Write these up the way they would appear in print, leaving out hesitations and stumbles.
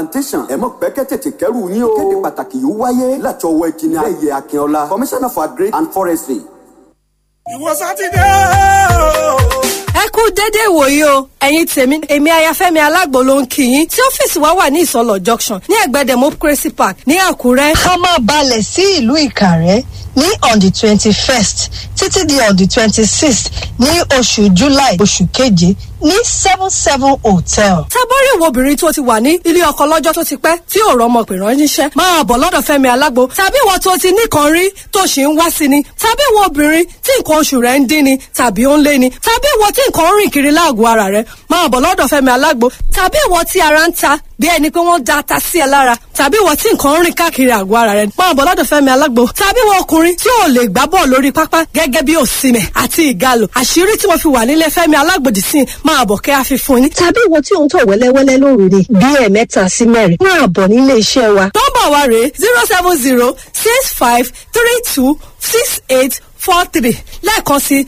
Plantation ẹ mọ̀ pẹ́kẹ́ tètè kẹ́rù yín o. Ìkéde pàtàkì yìí wáyé láti ọwọ́ ẹnjìnìá Lẹ́yẹ Akínọlá, Commissioner for Agri and Forestry. Ìwọ Sátidé o. Ẹ kú déédéé ìwòyí o, ẹ̀yin tèmi. Èmi Ayafẹ́mi Alágbo ló ń kí yín tí ọ́fíìsì wa wà ní Ìsọlọ̀ Junction ní ẹ̀gbẹ́ Democracy Park ní Àkúrẹ́. Ká máa balẹ̀ sí ìlú Ìkàrẹ́ ní on the 21st títí di on the 26th ní oṣù July, oṣù keje, ní 77 Hotel. Tábọ́rì ìwọ obìnrin tó ti wà ní ilé ọkọ lọ́jọ́ tó ti pẹ́ tí ò rọmọ pè ránṣẹ́, máa bọ̀ lọ́dọ̀ Fẹ́mi Alágbo. Tàbí ìwọ tó ti nìkan rí tó sì ń wá sí ni, tàbí ìwọ obìnrin tí nǹkan oṣù rẹ̀ ń dín ni tàbí ó ń lé ni, tàbí ìwọ tí nǹkan ń rìn kiri láàgọ̀ ara rẹ̀, máa bọ̀ lọ́dọ̀ Fẹ́mi Alágbo. Tàbí ìwọ tí ara ń ta bí ẹni pé wọ́n da ata sí ẹ lára, tàbí ìwọ tí nǹkan ń rìn káàkiri àgọ́ ara rẹ̀, máa bọ̀ lọ́dọ̀ Fẹ́mi Alágbo. Tàbí ìwọ ọkùnrin tí ò lè gbá bọ́ọ̀ lórí pápá gẹ́gẹ́ bí Òsìmẹ̀ àti Ìgalò, àṣírí tí wọ́n fi wà nílé Fẹ́mi Alágbo dì sí, máa bọ̀ kẹ́ àfihàn ní. Tàbí ìwọ tí ò ń tọ̀ wẹ́lẹ́wẹ́lẹ́ lóru ni bí ẹ̀ẹ̀mẹ́ta sí mẹ́rin, máa bọ̀ nílé iṣẹ́ wa. Nọ́mbà wa rèé: 07065326843. Lẹ́ẹ̀kan sí,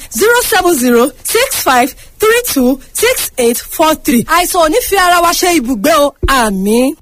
07065326843. Àìsàn ò ní fi ara wa ṣe ibùgbé o, àmín.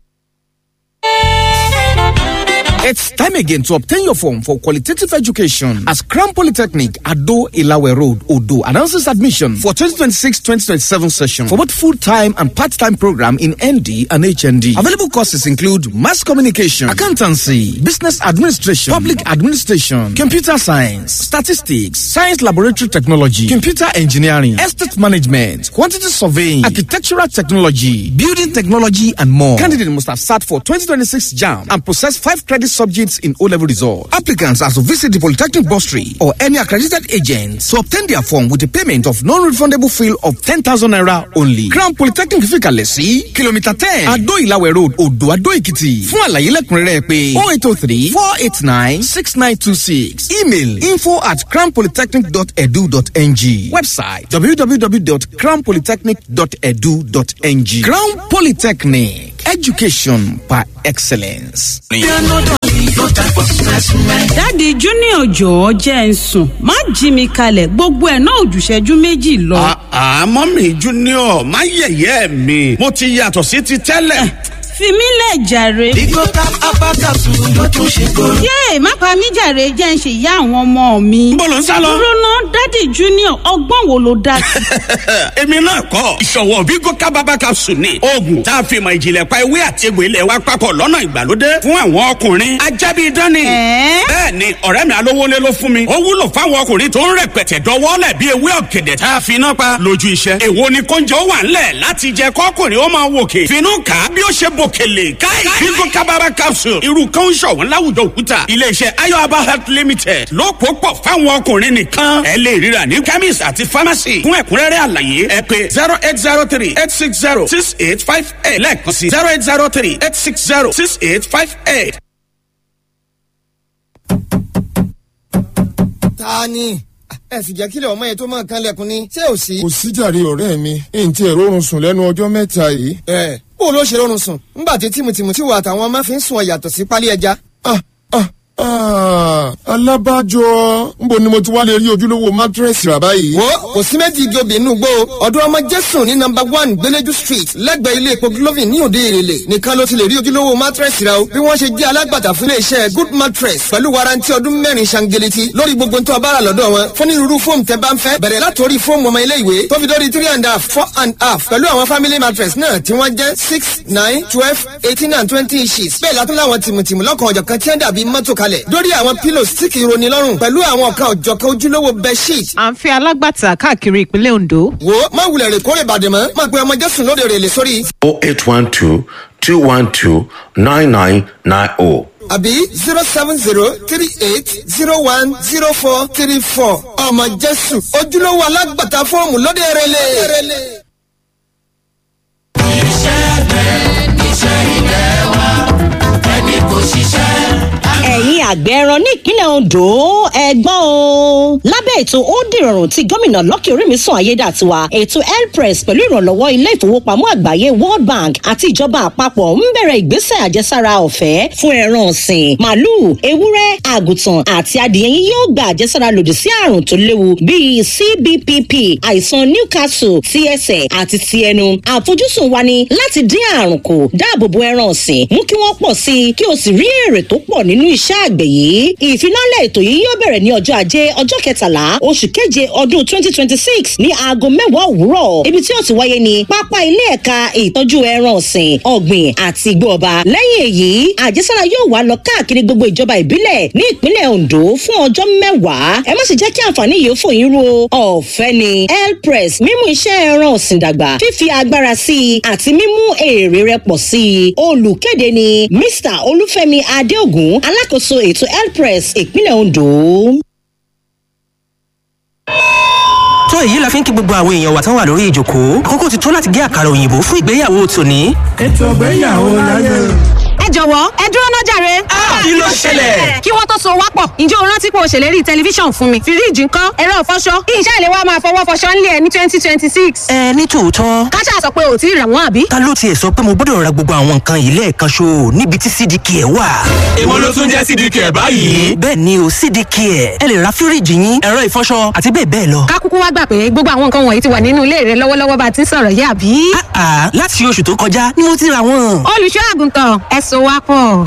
It's time again to obtain your form for qualitative education as Crown Polytechnic, Ado Ilawe Road, Odo announces admission for 2026-2027 session for both full-time and part-time program in ND and HND. Available courses include mass communication, accountancy, business administration, public administration, computer science, statistics, science laboratory technology, computer engineering, estate management, quantity surveying, architectural technology, building technology, and more. Candidate must have sat for 2026 JAMB and possess 5 credit subjects in O-level results. Applicants are to visit the Polytechnic Bursary or any accredited agent to obtain their form with a payment of non-refundable fee of 10,000 naira only. Crown Polytechnic fìkàlẹ̀ sí Kilometre 10, Ado Ilawe Road, Odo Ado Ekiti. Fún àlàyé lẹ́kùnrẹ́rẹ́ pé 0803 489 6926. Email info@crownpolytechnic.edu.ng. Website www.crownpolytechnic.edu.ng. Crown Polytechnic, education par excellence. Daddy Junior, jọ̀ọ́ jẹ́ ń sùn, má jí mi kalẹ̀, gbogbo ẹ̀ náà òjùṣẹ́jú méjì lọ. Àmọ́ mi Junior, má yẹ̀yẹ́ mi, mo ti yàtọ̀ sí ti tẹ́lẹ̀. Fi mí lẹ̀ jàre. Bigo Cap Abakasu ló tún ṣe kóró. Yéè, má pa mí jàre, jẹ́ ń ṣe ìyá àwọn ọmọ mi. Níbo lò ń sá lọ? Dúró ná, Daddy Junior, ọgbọ́n wo ló dá sí? Èmi náà kọ́, ìṣọ̀wọ́ Bigo Cap Abakasu ni oògùn tá a fi mọ̀ ìjìnlẹ̀ pa ewé àti egbò ilẹ̀ wa papọ̀ lọ́nà ìgbàlódé fún àwọn ọkùnrin ajábí dání. Ẹ̀ẹ́? Bẹ́ẹ̀ ni, ọ̀rẹ́ mi alówólé ló fún mi. Ó wúlò fáwọn ọkùnrin tó ń rẹpẹtẹ dọwọ́lẹ̀ bí ewé ọ̀gẹ̀dẹ̀ tá a fi iná pa lójú iṣẹ́. Èwo ni kóúnjẹ ó wà ńlẹ̀ láti jẹ kọ́kùnrin ó máa wòkè finú kà á bí ó ṣe bòkèlè káì. Bigo Kabara capsule, irú kan ń ṣọ̀wọ́n láwùjọ òkúta. Iléeṣẹ́ Ayoaba Health Limited ló kó pọ̀ fáwọn ọkùnrin nìkan. Ẹ lè ríra ní chemist àti pharmacy. Fún ẹ̀kúnrẹ́rẹ́ àlàyé, ẹ pè 08038606858. Lẹ́ẹ̀kan sí, 08038606858. Ta ni ẹ sì jẹ́ kílẹ̀ ọmọ yẹn tó máa kan lẹ́kùn ni, ṣé ò sí? Kò sí jàre, ọ̀rẹ́ mi, n tí ẹ̀rọ oorun sùn lẹ́nu ọjọ́ mẹ́ta yìí. Ẹ bó ló ṣe rọrùn sùn ńgbà tí tìmùtìmù tí wà àtàwọn ọmọ fi ń sùn ọ yàtọ̀ sí pálí ẹja? Ah, ah, ah, alábàjọ, nbo ni mo ti wá lè rí ojúlówó mattress rà báyìí? Wo, kò sí méjì igi obì inú gbó ọdún ọmọ Jésù ní nọ́mbà 1 Gbẹlẹjú Street, lẹ́gbẹ̀ẹ́ ilé epo Glovin ní òde Èrèlè nìkan ló ti lè rí ojúlówó mattress rà o. Bí wọ́n ṣe jẹ́ alágbàtà fún iléeṣẹ́ Good Mattress pẹ̀lú warranty ọdún 4 ṣangeleti lórí gbogbo tó bá rà lọ́dọ̀ wọn fún onírúurú fóòmù tẹ́ bá ń fẹ́, bẹ̀rẹ̀ látòrí fóòmù ọmọ ilé ìwé tó fi dórí 3.5, 4.5, pẹ̀lú àwọn family mattress náà tí wọ́n jẹ́ 6, 9, 12, 18 and 20 inches. Bẹ́ẹ̀ látún láwọn tìmùtìmù lọ́kàn ọ̀jọ̀kan tí wọ́n dàbí mọ́tò kalẹ̀ lórí àwọn pillows tí kì í roni lọ́rùn pẹ̀lú àwọn ọ̀kan ọ̀jọ̀kan ojúlówó bedsheet. À ń fi alágbàtà káàkiri ìpínlẹ̀ Ondo. Wo, má wulẹ̀ rè kórè bàdè mọ́, má pe ọmọ Jésù lóde rèlè sórí 0812 212 9990. àbí 07038010434. Ọmọ Jésù, ojúlówó alágbàtà fọ́ọ̀mù lóde rèlè. Ẹ̀yin àgbẹ̀ ẹran ní ìpínlẹ̀ Ondo, ẹ̀gbọ́n o. Lábẹ́ ètò ó dìrọ̀rùn tí gómìnà Lucky Orímisàn Ayédàtiwa, ètò Elpress pẹ̀lú ìrànlọ́wọ́ ilé ìfowópamọ́ àgbáyé World Bank àti ìjọba àpapọ̀ ń bẹ̀rẹ̀ ìgbésẹ̀ àjẹsára ọ̀fẹ́ fún ẹran ọ̀sìn. Màlúù, ewúrẹ́, àgùntàn àti adìẹ yín yóò gba àjẹsára lòdì sí àrùn tó léwu bíi CBPP, àìsàn Newcastle, ti ẹsẹ̀ àti ti ẹnu. Àfojúsùn wa ni láti dín àrùn kù, dáàbòbo ẹran ọ̀sìn, mú kí wọ́n pọ̀ sí i, kí o sì rí èrè tó pọ̀ nínú iṣẹ́ àgbẹ̀ yìí. Ìfilọ́lẹ̀ ètò yìí yóò bẹ̀rẹ̀ ní ọjọ́ ajé, ọjọ́ 13 oṣù keje ọdún 2026 ní aago 10 òwúrọ̀. Ibi tí ó ti wáyé ní pápá ilé ẹ̀ka ìtọ́jú ẹran ọ̀sìn, ọ̀gbìn àti igbó ọba. Lẹ́yìn èyí, àjẹsára yóò wá lọ káàkiri gbogbo ìjọba ìbílẹ̀ ní ìpínlẹ̀ Ondo fún ọjọ́ 10. Ẹ má sì jẹ́ kí àǹfààní yìí fò yín ru o. Ọ̀fẹ́ ni Elpress, mímú iṣẹ́ ẹran ọ̀sìn dàgbà, fífi agbára sí i àti mímú èrè rẹ̀ pọ̀ sí i. Olùkéde ni Mr. Olúfẹ́mi Adéògùn, alákòóso ètò Elpress ìpínlẹ̀ Ondo. Tó èyí la fi ń kí gbogbo àwọn èèyàn wa tán wà lórí ìjòkó. Àkókò ti tó láti gé àkàrà òyìnbó fún ìgbéyàwó tòní. Ètò ìgbéyàwó láyé. Ẹ jọ̀wọ́, ẹ dúró ná jàre. Kí ló ṣẹlẹ̀? Kí wọ́n tó so wá pọ̀, ǹjẹ́ o rántí pé o ṣèlérí tẹlifíṣàn fún mi? Fíríìjì ńkọ́? Ẹ̀rọ ìfọṣọ? Iṣẹ́ ìléwá máa fọwọ́ fọṣọ ńlẹ̀ ní 2026. Ẹ ní tòótọ́. Káṣá sọ pé ò tí ì rà wọ́n, àbí? Ta ló tiẹ̀ sọ pé mo gbọ́dọ̀ ra gbogbo àwọn nǹkan yìí lẹ́ẹ̀kan ṣo níbi tí CDK ẹ̀ wà? Èwo ló tún jẹ́ CDK ẹ̀ báyìí? Bẹ́ẹ̀ ni o, CDK ẹ̀. Ẹ lè ra fíríìjì yín, ẹ̀rọ ìfọṣọ àti bẹ́ẹ̀ bẹ́ẹ̀ lọ. Ká kúkú wá gbà pé gbogbo àwọn nǹkan wọ̀nyí ti wà nínú ilé rẹ lọ́wọ́lọ́wọ́ bá a ti ń sọ̀rọ̀ yìí, àbí? Àà, láti oṣù tó kọjá ni mo ti ra wọn. Olùṣọ́ àgùntàn, ẹ so wá pọ̀.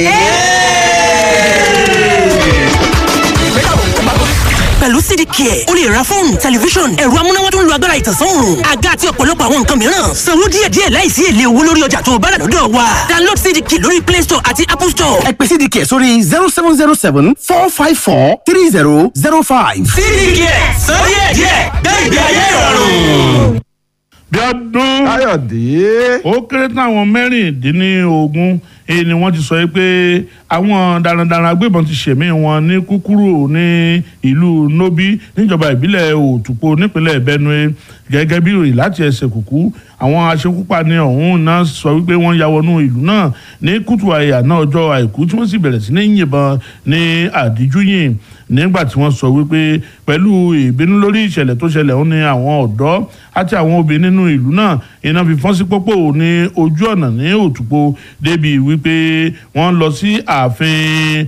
Pẹ̀lú CDK, o lè ra fóònù, tẹlifíṣọ̀n, ẹ̀rọ amúnáwá tó ń lo agbára ìtànsán òòrùn, àga àti ọ̀pọ̀lọpọ̀ àwọn nǹkan mìíràn. Sanwó díẹ̀díẹ̀ láìsí èlé owó lórí ọjà tó o bá rà lọ́dọ̀ wa. Download CDK lórí Play Store àti Apple Store. Ẹ pè CDK sórí 07074543005. CDK, sọ díẹ̀díẹ̀, gbé ìgbé ayé ìrọ̀rùn. Bíọ́dún. Káyọ̀dé. Ó kéré tán àwọn 16 èyí ni wọ́n ti sọ pé àwọn darandaran agbébọn ti ṣẹ̀mí wọn ní kúkúrú ní ìlú Nobi níjọba ìbílẹ̀ Òtùpó nípínlẹ̀ Benue. Gẹ́gẹ́ bí ìròyìn láti ẹsẹ̀ kúkú, àwọn aṣekúpani ọ̀hún náà sọ wípé wọ́n ya wọnú ìlú náà ní kùtù àyà náà ọjọ́ àìkú, tí wọ́n sì bẹ̀rẹ̀ sí ní yìnbọn ní àdíjúyìn, nígbà tí wọ́n sọ wípé pẹ̀lú ìbínú lórí ìṣẹ̀lẹ̀ tó ṣẹlẹ̀ ọ̀hún ni àwọn ọ̀dọ́ àti àwọn obìnrin nínú ìlú náà iná fi fọ́n sí pópó ní ojú ọ̀nà ní Òtùpó, débi wípé wọ́n lọ sí ààfin.